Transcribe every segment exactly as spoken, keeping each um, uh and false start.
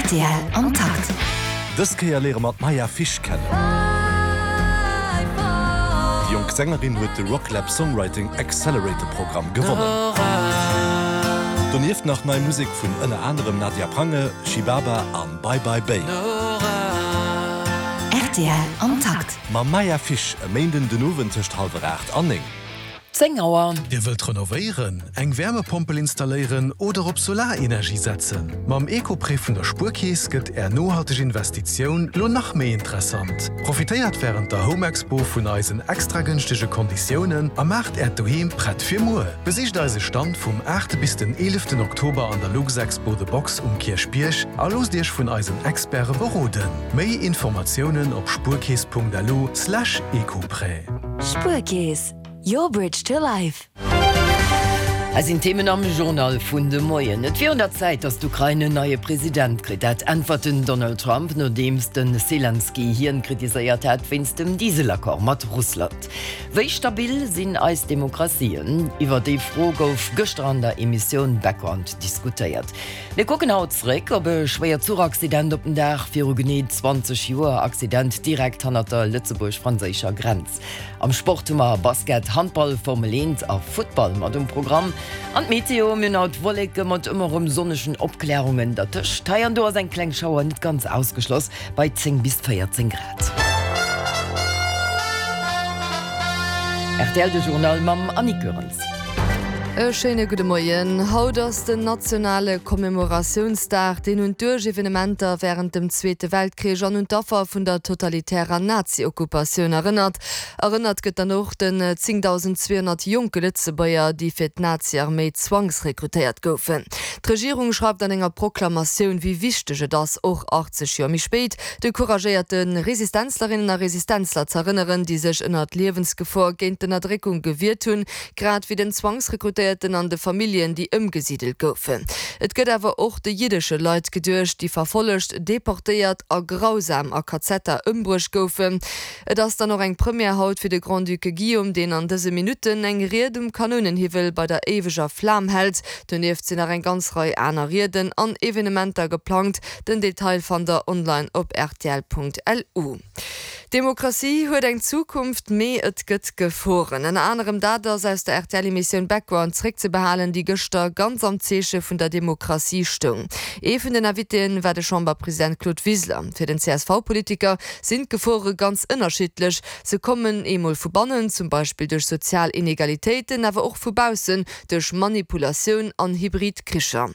Rtl am Takt. Dës Kéier léiere mer d'Maya Fish kennen. Déi jonk Sängerin huet de Rocklab Songwriting Accelerator Programm gewonnen. Donieft nach nei Musek vun ënner anerem Nadia Prange, Shibaba an Bye Bye Bay. Rtl am Takt. Mam Maya Fish e Méinden den Owend tëscht hallwer aacht an néng. Zéng Auer. Dir wëllt renovéieren, eng Wärmepompel installéieren oder op Solarenergie setzen? Mam Ecoprêt vun der Spuerkeess gëtt Är nohalteg Investitioun lo nach méi interessant. Profitéiert wärend der Home Expo vun eisen extra gënschtege Konditiounen a maacht Äert Doheem prett fir muer. Besicht eise Stand vum aachte bis den eeleften Oktober an der Luxexpo The Box um Kierchbierg a loosst Iech vun eisen Experte beroden. Méi Informatiounen op spuerkeess.lu slash ecoprêt. Spuerkeess, your bridge to life. Hei sinn d'Themen am Journal vun de Moien. Et wier un der Zäit, datt d'Ukrain en neie President kritt. Dat äntwert den Donald Trump, nodeems de Selenskyj hien kritiséiert hat wéinst dem Dieselaccord mat Russland. Wéi stabil sinn eis Demokratien? Iwwer déi Fro gouf gëschter an der Emissioun Background diskutéiert. Mir kucken haut zréck op e schwéiert Zuchaccident op den Dag viru genee zwanzeg Joer, Accident direkt hannert der lëtzebuerg-franséischer Grenz. Am Sport hu mer Basket, Handball, Formel eent a Futtball mat um Programm. An d'Meteo, Mir hunn haut Wolleke mat ëmmer erëm sonnegen Opklärungen dertëscht. Hei an do ass eng kleng Schauer net ganz ausgeschloss, bei zéng bis véierzéng Grad. Rtl, De Journal mam Annick Goerens. E schéine gudde Moien. Haut ass den nationale Commemoratiounsdag, deen un d'Uerg-Evenementer wärend dem Zweete Weltkrich an un d'Affer vun der totalitärer Nazi-Okkupatioun erënnert. Erënnert gëtt dann och den zéngdausend zweehonnert jonke Lëtzebuerger, déi fir d'Nazi-Arméi zwangsrekrutéiert goufen. D'Regierung schreift an enger Proklamatioun, wéi wichteg et ass, och achtzeg Joer méi spéit, de couragéierte Resistenzlerinnen a Resistenzler z'erënneren, déi sech ënnert Liewensgefor géint d'Ënnerdréckung gewiert hunn, grad wéi den Zwangsrekrutéierten an de Familljen, déi ëmgesidelt goufen. Et gëtt awer och de jiddesche Leit geduecht, déi verfollegt, deportéiert a grausam a Kazetter ëmbruecht goufen. Et ass dann och eng Première haut fir de Grand-Duc Guillaume, deen an dëse Minutten eng Ried um Kanounenhiwwel bei der éiweger Flam hält. Donieft sinn nach eng ganz Rei aner Rieden an Evenementer geplangt. Den Detail fannt der online op rtl.lu. D'Demokratie huet eng Zukunft, mee et gëtt Geforen. Ënner anerem dat ass aus der R T L-Emissioun Background zréckzebehalen, déi gëschter ganz am Zeeche vun der Demokratie stoung. Ee vun den Invitéen war de Chamberpresident Claude Wiseler. Fir den C S V-Politiker sinn d'Gefore ganz ënnerschiddlech. Se kommen eemol vu bannen, zum Beispill duerch sozial Inegalitéiten, awer och vu baussen, duerch Manipulatioun an hybrid Kricher.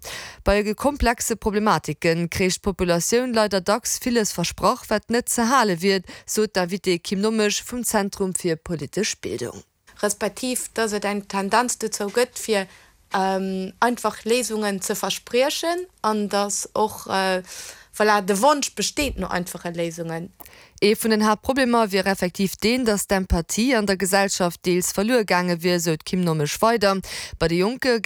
Bei komplexe Problematike kréich d'Populatioun leider dacks villes versprach, wat net ze hale wier, sot d'Invitée Kim Nommesch vum Zentrum fir politesch Bildung. Respektiv dass et eng Tendenz dozou gëtt, fir einfach Léisungen ze verspriechen, an dass och, voilà, de Wonsch besteet no einfache Léisungen. Ee vun den Haaptproblemer wier effektiv deen, datt d'Empathie an der Gesellschaft deels verluer gaange wier, sou d'Kim Nommesch weider. Bei de Jonke